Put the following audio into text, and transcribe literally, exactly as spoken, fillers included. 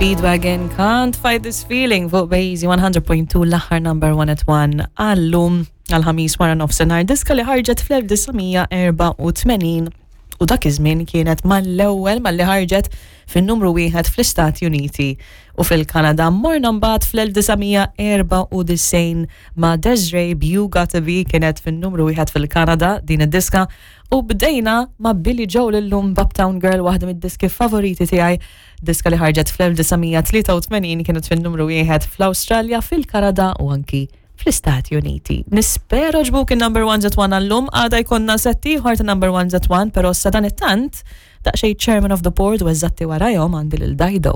Speedwagon, Can't Fight This Feeling fuq Bejzi one hundred point two, l-aħħar number one at one għallum, għal-Ħamis wara nofsinhar, diska li ħarġet fl-elf disa' mija erbgħa u tmenin u dak iż-żmien kienet mal-ewwel malli ħarġet fin-numru wieħed fl-Istati Uniti u fil-Kanada. Morna mbagħad fl-elf disa' mija erbgħa u disgħin ma' Des'ree, You Gotta Be, kienet fin-numru wieħed fil-Kanada din id-diska, u bdejna ma' Billy Joel illum b'Uptown Girl, waħda mid-diski favoriti tiegħi, diska li ħarġet fl-elf disa' mija tlieta u tmenin, kienet fin-numru wieħed fl-Awstralja, fil-Kanada u anki fl-Istati Uniti. Nispera għoġbuk il-number one at one għallum, għada jkollna set ieħor ta' number one at one, pero sadanittant daqsxejn Chairman of the Board u eżatti warajhom għandi lil Dajdo.